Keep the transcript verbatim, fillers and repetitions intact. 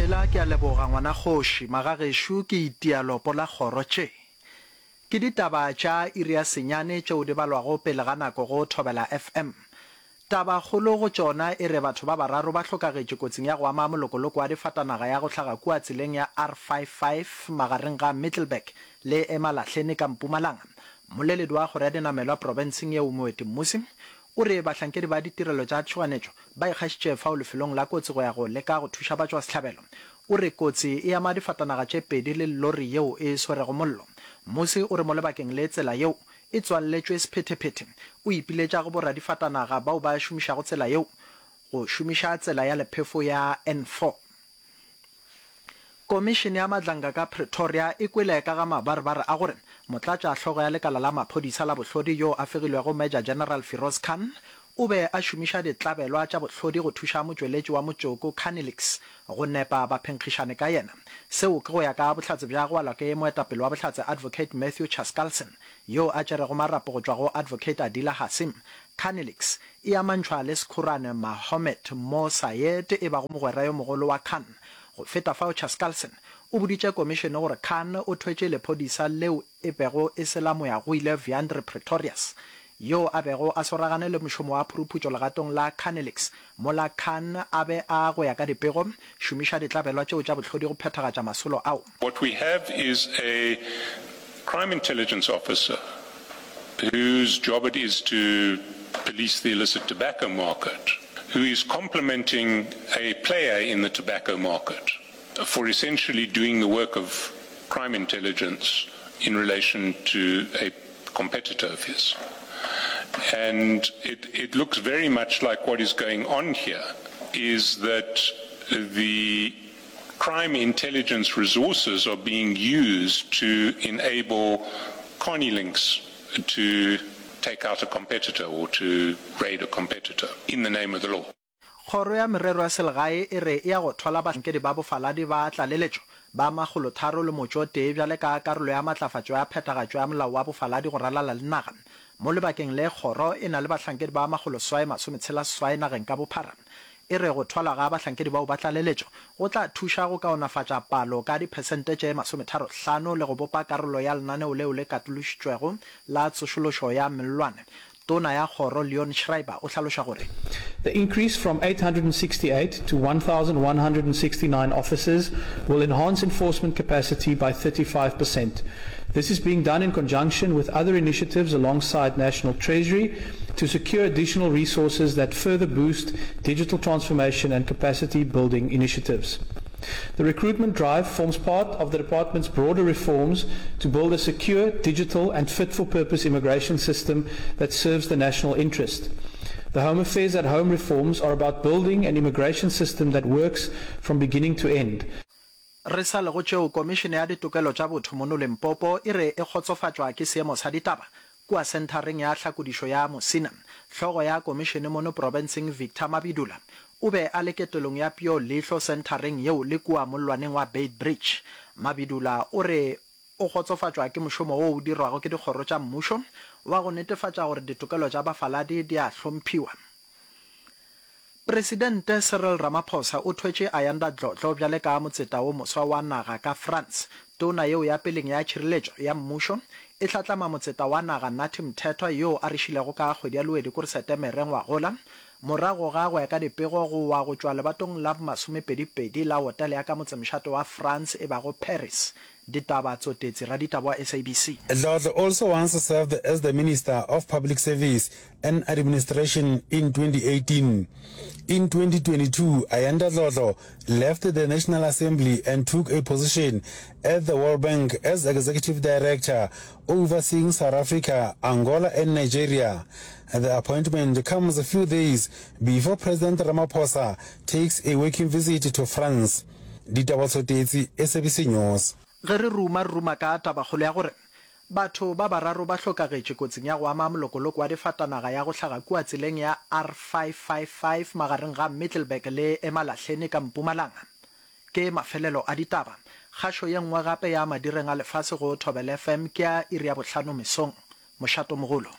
Tshela Ke a leboga ngwana kgoši. Magagešo ke itia lopo la kgoro tše. Ke ditaba tša iri ya senyane tšeo di balwago pele ga nako go Thobela F M. Tabakgolo go tšona e re batho ba bararo ba hlokagetše kotsing ya go ama molokoloko wa difatanaga ya go hlaga kua tseleng ya R five five magareng ga Middelburg le Emalahleni ka Mpumalanga. Mmoleledi wa kgoro ya dinamelwa profenseng yeo Moeti Mmusi o re bahlankedi ba ditirelo tša tšhoganetšo ba ikgašitše fao lefelong la kotsi go ya go leka go thuša batšwasehlabelo. O re kotsi e ama difatanaga tše pedi le lori yeo e swerego mollo. Mmusi o re mo lebakeng le tsela yeo e tswalletšwe sephethephethe. O ipiletša go boradifatanaga bao ba šomišago tsela yeo go šomiša tsela ya lephefo ya N four. Komišene ya Madlanga ka Pretoria e kwele ka ga mabarebare a gore motlatša hlogo ya lekala la maphodisa la bohlodi yo a fegilwego Major General Firoz Khan o be a šomiša ditlabelwa tša bohlodi go thuša motšweletši wa motšoko Carnilix go nepa baphenkgišane ka yena. Seo ke go ya ka bohlatse bja go alwa ke moetapele wa bohlatse Advocate Matthew Chaskalson yo a tšerego marapo go tšwa go Advocate Adila Hassim. Carnilix e amantšhwa le sekhurane Mahomed Mo Sayed e bago mogwera yo mogolo wa Khan. Go feta fao Chaskalson o boditše komišene gore Khan o thwetše lephodisa leo e bego e se la moyagoile Wiandre Pretorius yo a bego a swaragane le mošomo wa phuruphutšo legatong la Carnilix mola Khan a be a go ya ka dipego šomiša ditlabelwa tšeo tša bohlodi go phethagatša masolo ao. What we have is a crime intelligence officer whose job it is to police the illicit tobacco market, who is complimenting a player in the tobacco market for essentially doing the work of crime intelligence in relation to a competitor of his. And it, it looks very much like what is going on here is that the crime intelligence resources are being used to enable Carnilinx to take out a competitor or to raid a competitor in the name of the law. Kgoro ya Merero ya Selegae e re e ya go thwala bahlankedi ba bofaladi ba tlaleletšo ba makgolotharo le motšo o tee bjale ka karolo ya matlafatšo ya phethagatšo ya molao wa bofaladi go ralala le naga. Mo lebakeng le kgoro e na le bahlankedi ba makgoloseswai masometshela seswai nageng ka bophara. E re go thwalwa ga bahlankedi bao ba tlaleletšo go tla thuša go kaonafatša palo ka diphesente tše masometharo hlano le go bopa karolo ya lenaneo leo le katološitšwego la tsošološo ya mellwane. Tona ya Kgoro Leon Schreiber o hlaloša gore. The increase from eight hundred sixty-eight to one thousand one hundred sixty-nine officers will enhance enforcement capacity by thirty-five percent. This is being done in conjunction with other initiatives alongside National Treasury to secure additional resources that further boost digital transformation and capacity building initiatives. The recruitment drive forms part of the department's broader reforms to build a secure, digital and fit-for-purpose immigration system that serves the national interest. The Home Affairs at Home reforms are about building an immigration system that works from beginning to end. Re sa le go tšeo, Komišene ya Ditokelo tša Botho mono Limpopo e re e kgotsofatšwa ke seemo sa ditaba kua senthareng ya tlhakodišo ya Musina. Hlogo ya komišene mono profenseng Victor Mabidula o be a le ketelong ya peo leihlo senthareng yeo le kua mollwaneng wa Beitbridge. Mabidula o re o kgotsofatšwa ke mošomo wo o dirwago ke dikgoro tša mmušo wa go netefatša gore ditokelo tša bafaladi di a hlomphiwa. Presidente Cyril Ramaphosa o thwetše Ayanda Dlodlo bjale ka motseta wo moswa wa naga ka France. Tona yeo ya peleng ya tšhireletšo ya mmušo e hlatlama motseta wa naga Nathi Mthethwa yoo a re šilego ka kgwedi ya Lwedi kore Setemere ngwagola morago ga go ya ka dipego go wa go tšwa lebatong la bomasomepedi-pedi la hotele ya ka motsemošate wa France e bago Paris. Ditaba Tsotetsi, raditaba wa S A B C. Dlodlo also once served as the Minister of Public Service and Administration in twenty eighteen. In twenty twenty-two, Ayanda Dlodlo left the National Assembly and took a position at the World Bank as Executive Director, overseeing South Africa, Angola and Nigeria. The appointment comes a few days before President Ramaphosa takes a working visit to France. Ditaba Tsotetsi, S A B C News. Ge re ruma, re ruma ka tabakgolo ya gore batho ba bararo ba hlokagetše kotsing ya go ama molokoloko wa difatanaga ya go hlaga kua tseleng ya R five five five magareng ga Middelburg le Emalahleni ka Mpumalanga. Ke mafelelo a ditaba. Kgašo ye nngwe gape ya madireng a lefase go Thobela F M ke ya iri ya bohlano mesong. Mošatomogolo.